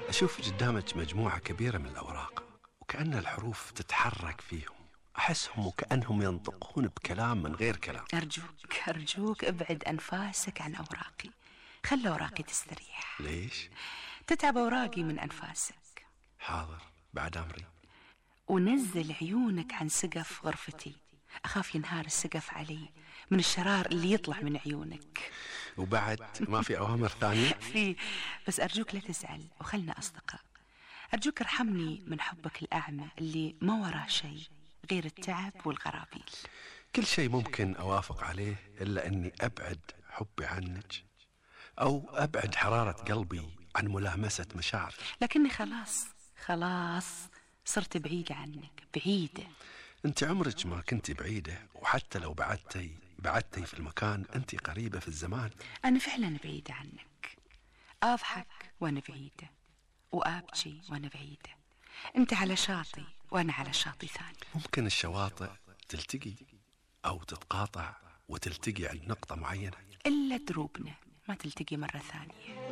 أشوف قدامك مجموعة كبيرة من الأوراق وكأن الحروف تتحرك فيهم، أحسهم وكأنهم ينطقون بكلام من غير كلام. أرجوك ابعد أنفاسك عن أوراقي، خلي أوراقي تستريح. ليش؟ تتعب أوراقي من أنفاسك. حاضر، بعد أمري. ونزل عيونك عن سقف غرفتي، أخاف ينهار السقف علي من الشرار اللي يطلع من عيونك. وبعد ما في أوامر ثانية؟ في، بس أرجوك لا تزعل وخلنا أصدقاء. أرجوك ارحمني من حبك الأعمى اللي ما وراه شيء غير التعب والغرابيل. كل شيء ممكن أوافق عليه إلا أني أبعد حبي عنك، أو أبعد حرارة قلبي عن ملامسة مشاعري. لكني خلاص صرت بعيدة عنك، بعيدة. أنت عمرك ما كنت بعيدة، وحتى لو بعدتي في المكان أنت قريبة في الزمان. أنا فعلا بعيدة عنك، أضحك وأنا بعيدة وأبكي وأنا بعيدة. أنت على شاطئ وأنا على شاطئ ثاني. ممكن الشواطئ تلتقي أو تتقاطع وتلتقي عند نقطة معينة، إلا دروبنا ما تلتقي مرة ثانية.